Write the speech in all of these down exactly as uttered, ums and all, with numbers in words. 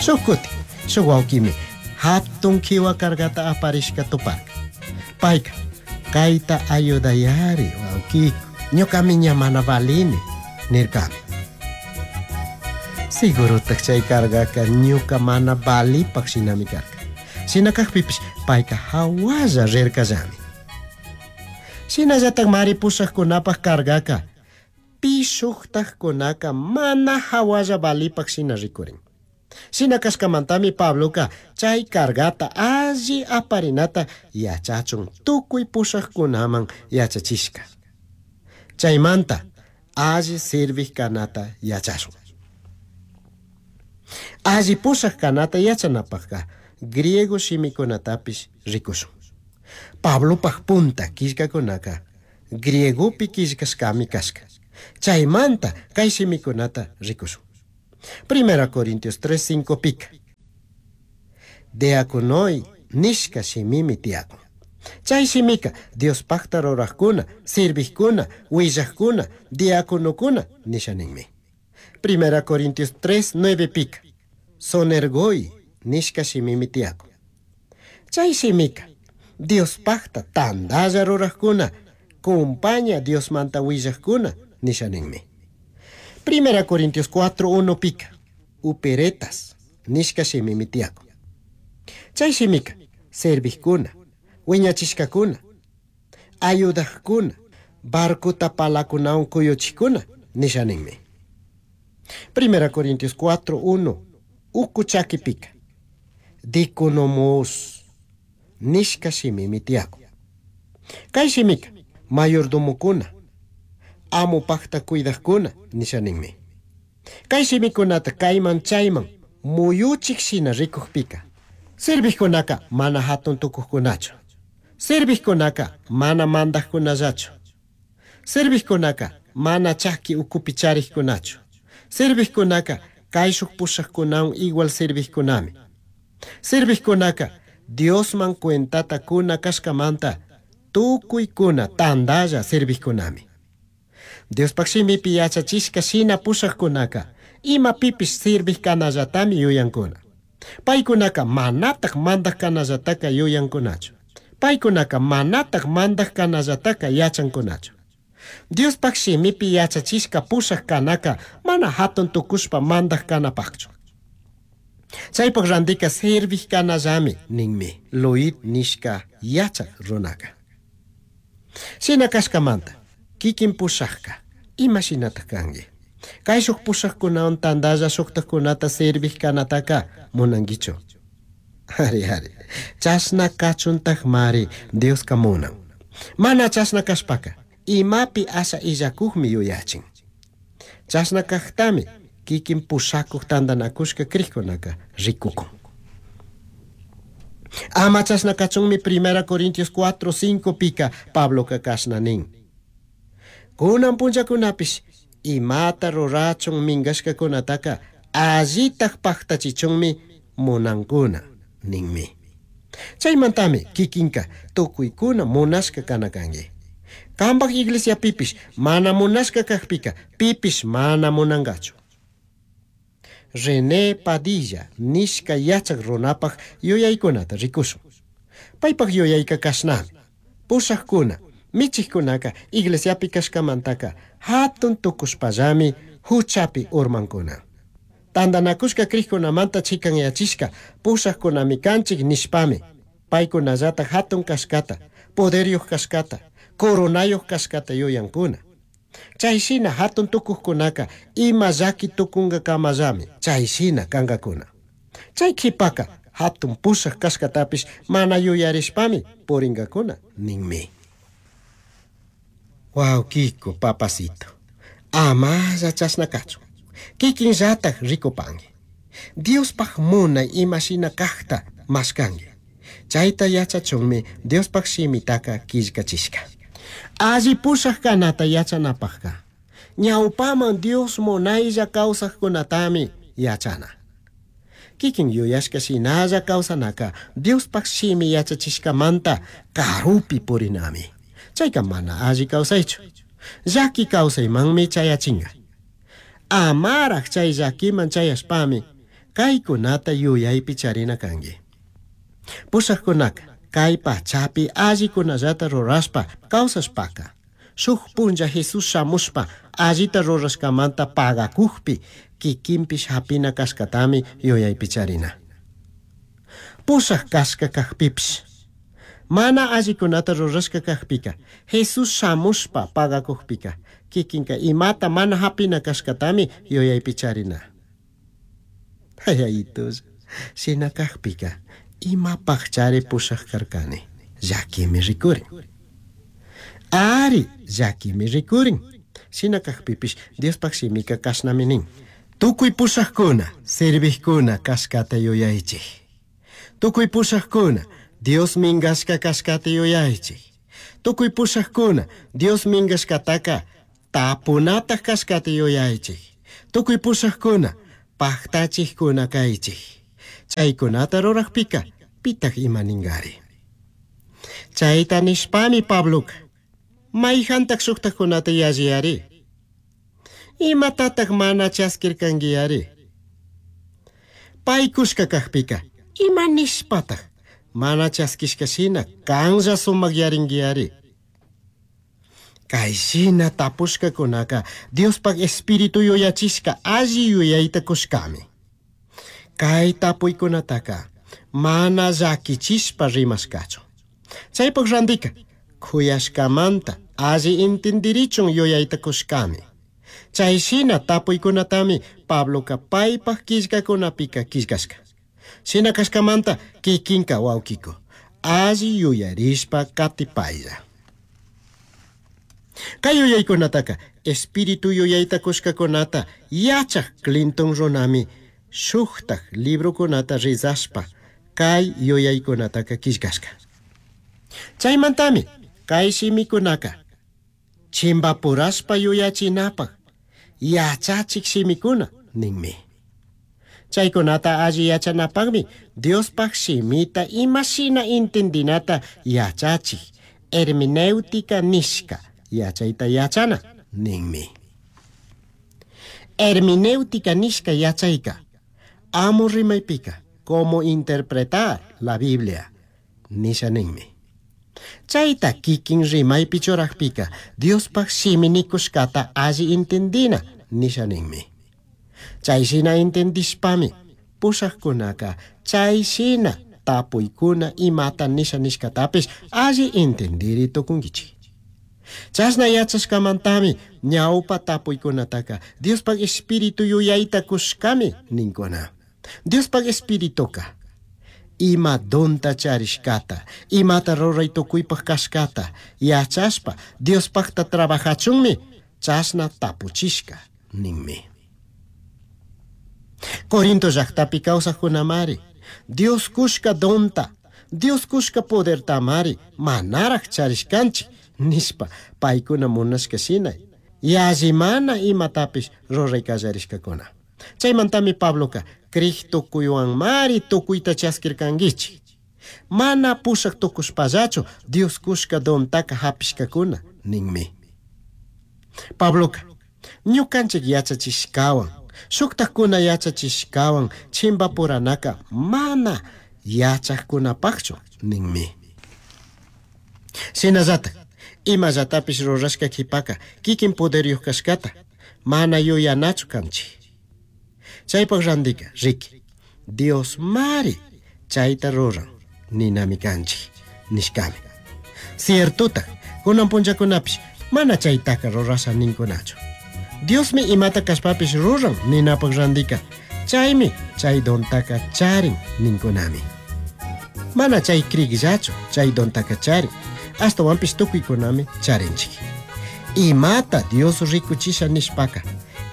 Shuj kutin, shuk wawkimi hatun kiwa cargata aparishka tuparka. Payka, kayta ayudayari wawkiku, ñukami ña mana valini, nirkami. Sigurutaj chay cargaka ñuka mana valipak shinami karka. Shina kajpipish payka hawalla rirkallami. Shinallatak mari pushakkunapak cargaka pi shuktajkunaka mana hawalla valipak shina rikurin. Shina kashkamantami Pabloka chay cargata alli aparinata yachachun tukuy pushakkunaman yachachishka. Chaymanta alli sirvik kanata yachashun. Alli pushak kanata yachanapakka griego shimikunatapish rikushun. Pablopaj punta killkakunaka griegopi killkashkami kashka. Chaymanta kay shimikunata rikushun. Primera Corintios tres cinco pika. Diakonoi nishka shimimi tiyakun. Chay shimika Diospakta rurajkuna, sirvijkuna, willajkuna, diakonokuna nisha ninmi. Primera Corintios tres nueve pika. Sonergoi nishka shimimi tiyakun. Chay shimika Diospakta tandalla rurajkuna, kumpaña Diosmanta willajkuna nisha ninmi. Primera Corintios cuatro uno pika. Uperetas nishka shimimi tiyakun. Chay shimika servijkuna, wiñachishkakuna, ayudajkuna, barcota palakunawan kuyuchikuna nisha ninmi. Primera Corintios cuatro uno uku chaki pika. Dikonomos nishka shimimi tiyakun. Kay shimika mayordomokuna, amupakta cuidajkuna nisha ninmi. Kay shimikunata kayman chayman muyuchik shina rikukpika. Servijkunaka mana hatun tukujkunachu. Servijkunaka mana mandajkunallachu. Servijkunaka mana chaki ukupi charikkunachu. Servijkunaka kayshuk pushakkunawan igual servijkunami. Servijkunaka Diosman cuentata kuna kashkamanta tukuykuna tandalla servijkunami. Diospaj shimipi yachachishka shina pushakkunaka ima pipish sirvij kanallatami yuyankuna. Paykunaka manataj mandaj kanallataka yuyankunachu. Paykunaka manataj mandaj kanallataka yachankunachu. Diospaj shimipi yachachishka pushak kanaka mana hatun tukushpa mandaj kanapajchu. Chaypaj randika sirvij kanallami ninmi Luit nishka yachak runaka. Shina kashkamanta kikin pushakka ima shinataj kanki. Kayshuk pushakkunawan tandalla shuktajkunata sirvij kanataka munankichu. Ari, ari. Chashna kachuntajmari Dioska munan. Mana chashna kashpaka imapi asha illakujmi yuyachin. Chashna kajtami kikin pushakuj tandanakushka krikkunaka rikukun. Ama chashna kachunmi Primera Corintios cuatro cinco pika Pabloka kashna nin. Kunan punllakunapish imata rurachun minkashkakunataka allitaj paktachichunmi munankuna ninmi. Chaymantami kikinka tukuykuna munashka kana kanki. Kambaj iglesiapipish mana munashka kajpika pipish mana munankachu. René Padilla nishka yachak runapaj yuyaykunata rikushun. Paypaj yuyayka kashnami. Pushajkuna, michijkunaka iglesiapi kashkamantaka hatun tukushpallami huchapi urmankuna. Tandanakushka krikkunamanta chikanyachishka pushajkunami kanchik nishpami paykunallata hatun kashkata, poderyuq kashkata, coronayuq kashkata yuyankuna. Chay shina hatun tukujkunaka ima llaki tukunkakamallami chay shina kankakuna. Chay kipaka hatun pushaj kashkatapish mana yuyarishpami purinkakuna ninmi. Wawkiku papacito, amalla chashna kachun. Kikinllataj rikupanki. Diospaj munay ima shina kajta mashkanki. Chayta yachachunmi Diospaj shimitaka killkachishka. Alli pushaj kanata yachanapajka. Ñawpaman Dios munaylla kawsajkunatami yachana. Kikin yuyashka shinalla kawsanaka Diospaj shimi yachachishkamanta karupi purinami. Chayka mana alli kawsaychu. Llaki kawsaymanmi chayachinka. Amaraj chay llakiman chayashpami Caicunata yuyaipi charina cangui. Pushajcunaca cai pachapi allicunallata rurashpa causashpaca shuj punlla Jesús shamushpa allita rurashcamanta pagacujpi kikinpish hapina cashcatami yuyaipi charina. Pushaj cashca cajpipish mana allicunata rurashca cajpica Jesús shamushpa pagacujpica kikinka imata mana hapina cashcatami yuyaipi charina. Ayayitulla, shina cajpica imapaj chari pushaj karkani, llaquimi rikurin. Ari, llaquimi rikurin. Shina cajpipish Diospaj shimika kashnami nin. Tukuy pushajkuna, servijkuna kashkata yuyaychik. Tukuy pushajkuna, Dios mingashka kashkata yuyaychik. Tukuy pushajkuna, Dios mingashkataka tapunataj kashkata yuyaychik. Tukuy pushajkuna, pajtachijkuna kaychik. Chaykunata rurajpika, pitaj ima ningari. Chayta nishpami Pabloka, mayjantaj shuktajkunata yalliyari. Imatataj mana chaskirkankiyari. Pay kushka kajpika, ima nishpataj mana chaskishka shina kanlla sumakyarinkiari. Kay shina tapushkakunaka Diospaj Espíritu yuyachishka alli yuyayta kushkami. Kay tapuykunataka mana llakichishpa rimashkachu. Chaypaj randika kuyashkamanta alli intindirichun yuyayta kushkami. Chay shina tapuykunatami Pabloka paypaj killkakunapika killkashka. Shina kashkamanta kikinka wawkiko alli yuyarishpa katipaylla. Kay yuyaykunataka Espíritu yuyayta kushkakunata yachaj Clinton runami shuktaj librokunata rizashpa kay yuyaykunataka killkashka. Chaymantami kay shimikunaka chimbapurashpa yuyachinapaj yachachik shimikuna ninmi. Chaykunata alli yachanapaqmi Diospaj shimita imashina intindinata yachachik hermenéutica nishka yachayta yachana ninmi. Hermenéutica nishka yachayka amo rimaypika cómo interpretar la Biblia nisha ninmi. Chayta kikin rimaypi churajpika Diospaj shimi nikushkata alli intindina nisha ninmi. Chay shina intindishpami pushajkunaka chay shina tapuykuna imata nisha nishkatapish alli intindiri tukunkichik. Chashna yachashkamantami ñawpa tapuykunataka Diospaj Espíritu yuyayta kushkami ninkuna. Diospaj Espirituka ima donta charishkata, imata ruray tukuypaj kashkata yachashpa Diospajta trabajachunmi chashna tapuchishka ninmi. Corinto llaqtapi kawsaqkunamari Dios kushka donta, Dios kushka podertamari manaraj charishkanchik nishpa paykuna munashka shina yallimana imatapish ruray kallarishkakuna. Chaymantami Pabloka krij tukuywanmari tukuyta chaskirkankichik. Mana pushak tukushpallachu Dios kushka dontaka hapishkakuna ninmi. Pabloka ñukanchik yachachishkawan shuktajkuna yachachishkawan chimbapuranaka mana yachajkunapajchu ninmi. Shinallatak imallatapish rurashka qhipaka kikin poderyuq kashkata mana yuyanachu kanchik. Chaypaj randika riki Dios mari chayta ruran ninami kanchik nishkami. Ciertotaj kunan punllakunapish mana chaytaka rurasha ninkunachu. Diosmi imata kashpapish ruran ninapaj randika chaymi chay dontaka charin ninkunami. Mana chay krikllachu chay dontaka charin, ashtawanpish tukuykunami charinchik. Imata Dios rikuchisha nishpaka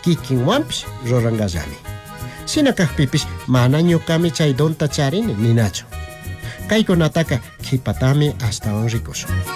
kikinwanpish rurankallami. Shina kajpipish mana ñukami chay donta charini ninachu. Kaykunataka qhipatami ashtawan rikushun.